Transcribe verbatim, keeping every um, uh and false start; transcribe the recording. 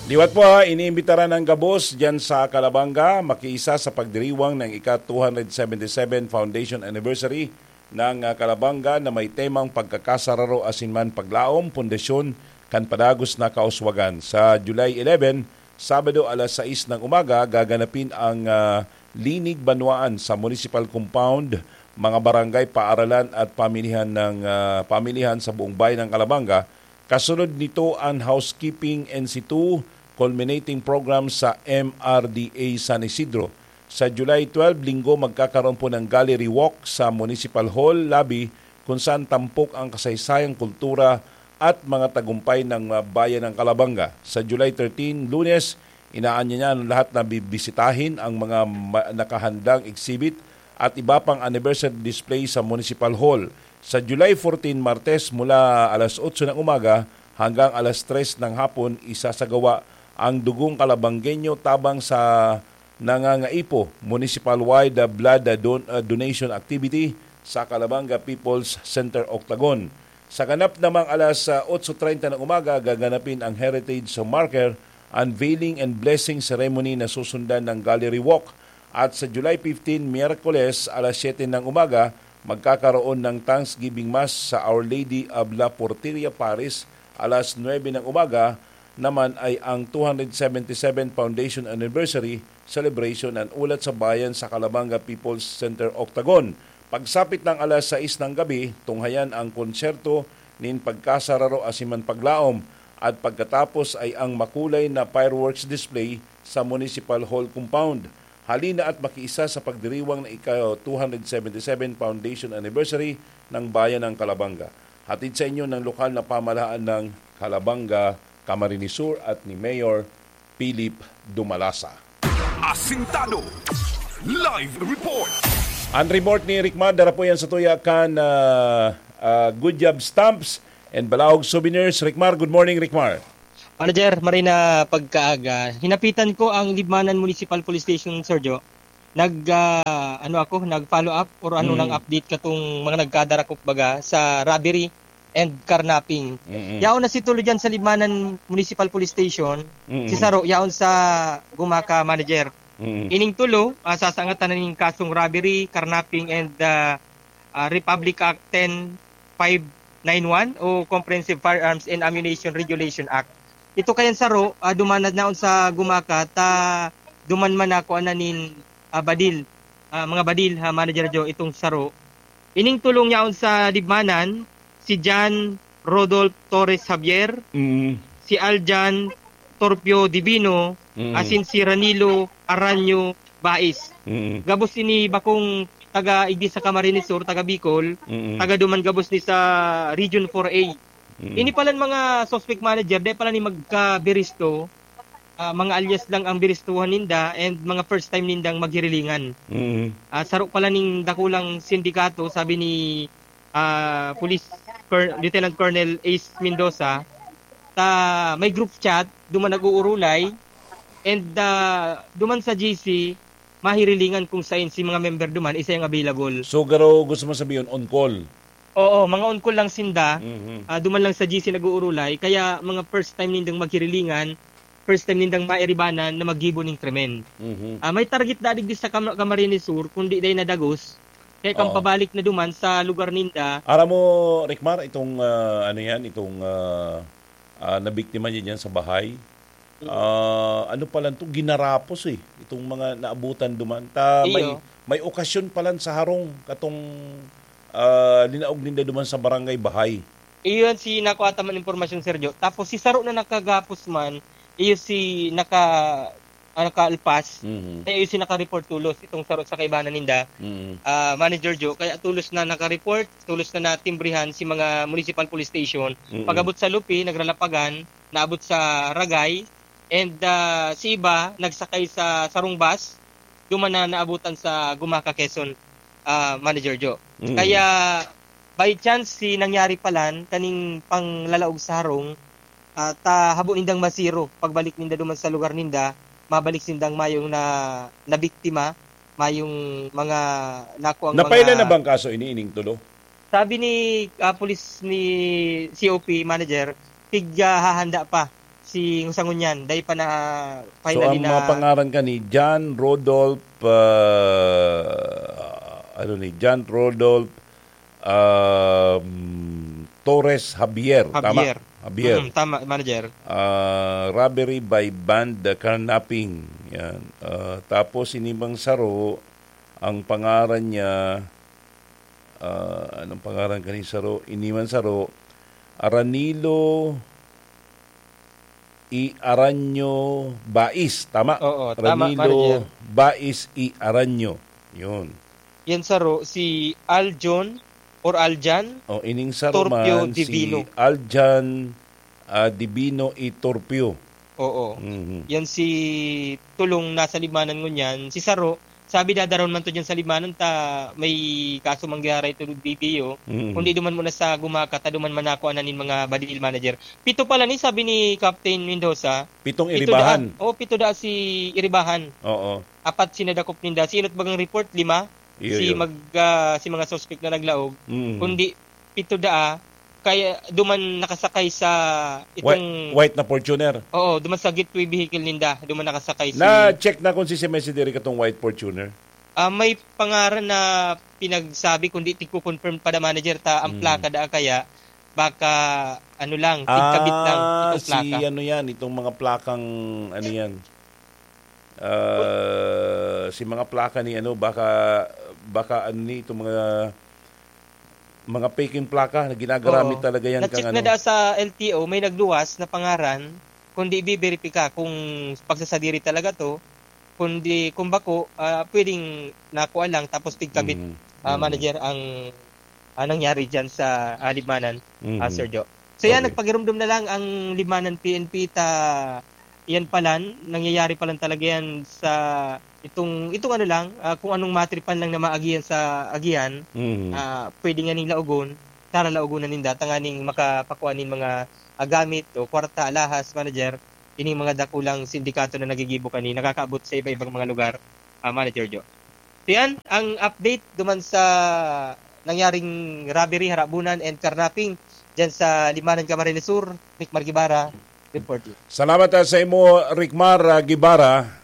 Liwat po ha, iniimbitaran ang gabos diyan sa Calabanga, makiisa sa pagdiriwang ng ika two hundred seventy-seven Foundation Anniversary ng, ah, Calabanga na may temang pagkakasararo asin man paglaom, pundasyon kan padagos na kauswagan. Sa July eleven, Sabado, alas sais ng umaga, gaganapin ang, ah, Linig Banwaan sa Municipal Compound, mga barangay, paaralan at pamilihan ng, ah, pamilihan sa buong bayan ng Calabanga. Kasunod nito ang Housekeeping N C two Culminating Program sa M R D A San Isidro. Sa July twelve, Linggo, magkakaroon po ng gallery walk sa Municipal Hall lobby, kung saan tampok ang kasaysayang, kultura at mga tagumpay ng, ah, bayan ng Calabanga. Sa July thirteen, Lunes, inaanyayahan ng lahat na bibisitahin ang mga ma-, nakahandang exhibit at iba pang anniversary display sa Municipal Hall. Sa July fourteen, Martes, mula alas otso ng umaga hanggang alas tres ng hapon, isasagawa ang Dugong Calabanggenyo tabang sa Nangangaipo Municipal-wide Blood Don-, ah, Donation Activity sa Calabanga People's Center Octagon. Sa ganap namang alas, ah, otso treinta ng umaga, gaganapin ang Heritage Marker, Unveiling and Blessing Ceremony na susundan ng Gallery Walk. At sa July fifteen, Miyerkules, alas siyete ng umaga, magkakaroon ng Thanksgiving Mass sa Our Lady of La Porteria Parish. Alas nuebe ng umaga naman ay ang two hundred seventy-seven Foundation Anniversary Celebration and Ulat sa Bayan sa Calabanga People's Center Octagon. Pagsapit ng alas sais ng gabi, tunghayan ang konsyerto nin pagkasararo asin man paglaom, at pagkatapos ay ang makulay na fireworks display sa Municipal Hall Compound. Halina at makiisa sa pagdiriwang na ika two hundred seventy-seven Foundation Anniversary ng Bayan ng Calabanga. Hatid sa inyo ng lokal na pamahalaan ng Calabanga, Camarines Sur at ni Mayor Philip Dumalasa. Asintado. Live report. Ang report ni Rick Mar, dara po yan sa tuya kan, ah, ah, Good Job Stamps and Balaog Souvenirs. Rick Mar, good morning, Rick Mar. Manager, marhay na pagkaaga. Hinapitan ko ang Libmanan Municipal Police Station, Sir Joe. Nag, ah, ano ako, nag-follow up or ano Mm. nang update katong mga nagkadarakop baga sa robbery and carnapping. Mm-mm. Yaon na si Tulo dyan sa Libmanan Municipal Police Station. Mm-mm. Si Saro, yaon sa Gumaka, Manager. Mm-mm. Ining Tulo, ah, sasangatan na ning kasong robbery, carnapping, and, ah, ah, Republic Act ten five nine one o Comprehensive Firearms and Ammunition Regulation Act. Ito kayan Saro, ah, duman na naon sa Gumaka, ta duman man na kuan na nin, ah, badil, ah, mga badil, ha, Manager Joe, itong Saro. Ining Tulo yaon sa Libmanan, si John Rodolph Torres Javier, Mm. si Aljan Torpio Divino, Mm. asin si Ranilo Aranyo Bais. Mm. Gabos ini bakong taga Iglesia Camarines Sur, taga Bicol, Mm. taga duman gabos ni sa Region four A. Mm. Ini palan mga suspect, Manager, dai pala ni magkabiristo, ah, mga alias lang ang biristuhan ninda and mga first time nindang maghirilingan. Mm. Ah, saro pala ning dakulang sindikato, sabi ni, ah, Police Col-, Lieutenant Colonel Ace Mendoza, ta may group chat, duman nag-uurulay, and, ah, duman sa G C, mahirilingan kung sain si mga member duman, isa yung available. So, garo gusto mo sabihin, on call? Oo, mga on call lang sinda. Mhm. Ah, duman lang sa G C nag-uurulay, kaya mga first time nindang maghirilingan, first time nindang mairibanan na maggibo ning krimen. Mhm. Ah, may target dadig di sa Cam-, Camarines Sur, kundi dai nadagos. Kaya kang Oo. pabalik na duman sa lugar ninda. Aram mo, Rick Mar, itong, ah, ano yan, itong, ah, ah, nabiktima niya dyan sa bahay, Mm. ah, ano palan to, ginarapos eh. Itong mga naabutan duman. Ta, may, Iyo. may okasyon palan sa harong katong, ah, linaog ninda duman sa barangay Bahay. Iyon si nakuha ta man impormasyon, Sergio. Tapos si Saro na nakagapos man, iyo si naka, ah, nakaalpas. Mhm. Kaya iyo si naka-report tulos, itong Saro sa kaibanan ninda. Mhm. Ah, Manager Joe, kaya tulos na naka-report, tulos na natimbrihan si mga municipal police station. Mhm. Pag-abot sa Lupi, nagralapagan, naabot sa Ragay, and, ah, si iba nagsakay sa sarong bus, duman na naabutan sa Gumaka, Quezon, ah, Manager Joe. Mm. Kaya, by chance, si nangyari palan, kaning panglalaog sa harong, ah, ta habo nindang masiro, pagbalik ninda duman sa lugar ninda, mabalik sindang mayong na, nabiktima, mayong mga nakuang Napailan mga na bang kaso ini, ining tulo? Sabi ni, ah, pulis ni C O P manager, tig, ah, hahanda pa. si, sa ngunyan, dai pa na, So, finally ang mga na pangaran ka ni John Rodolph, ah, ano ni, John Rodolph, um, Torres Javier. Tama? Javier. Javier. Mm, tama, manager. Ah, robbery by band, uh, carnapping. Yan. Ah, tapos, ini mang saro, ang pangaran niya, ah, anong pangaran kani saro? Ini man saro, Aranilo I Aranyo Bais. Tama? Oo, tama, Aranilo manager. Bais I Aranyo. Yun. Yan saro, si Aljon or Aljan O, ining saro Torpio man, Divino. Si Aljan, ah, Divino I Torpio. Oo. Mhm. Yan si Tulong nasa Libmanan ngunyan. Si Saro, sabi dadaron man to dyan sa Libmanan ta may kaso mangyari ito B P O. Mhm. Kundi duman muna sa Gumaka, ta duman manako anan nin mga badil manager. Pito pala ni, sabi ni Captain Mendoza. Pitong Pito Iribahan. daan. Oh, pito daan si Iribahan. Oo. Apat sinadakop ninda. Si Inot Bagang report, lima. Iyo, Si iyo. mag, ah, si mga suspect na naglaog. Mhm. Kundi pito daa, kaya duman nakasakay sa White, itong white na Fortuner. Oo, duman sa gateway vehicle ninda, duman nakasakay si Na-check na kung si Semesi diri katong white Fortuner. Ah, may pangaran na pinagsabi, kundi tigko-confirm pa da manager ta ang Mm. plaka da kaya baka ano lang, tigkabit lang Ah, itong si plaka. ano yan, itong mga plakang ano yan. Ah, si mga plaka ni ano, baka, baka ano ni, itong mga, mga peking plaka na ginagamit Oo. talaga yan Na-check kang na ano. da sa L T O, may nagluwas na pangaran, kundi biberipika kung pagsasadiri talaga to, kundi kung bako, ah, pwedeng nakuha lang, tapos tigkabit, Mhm. ah, Mhm. manager ang, ah, nangyari dyan sa, ah, Libmanan, ah, Mhm. Sir Jo. So yan, Okay. nagpagirumdom na lang ang Libmanan P N P ta, yan palan, nangyayari palan talaga yan sa itong, itong ano lang, ah, kung anong matripan lang na maagihan sa agihan, Mhm. ah, pwede nga ning laogon, tara laogon na ninda, tanganing makapakua nin mga, ah, gamit o kwarta, alahas, manager, ining mga dakulang sindikato na nagigibo kani, nakakaabot sa iba-ibang mga lugar, ah, manager Jo. So yan, ang update duman sa nangyaring robbery, harabunan, and carnapping dyan sa Limanan, Camarines Sur, Rick Margibara, reporting. Salamat, ah, sa imo, Ricmar, ah, Guevara.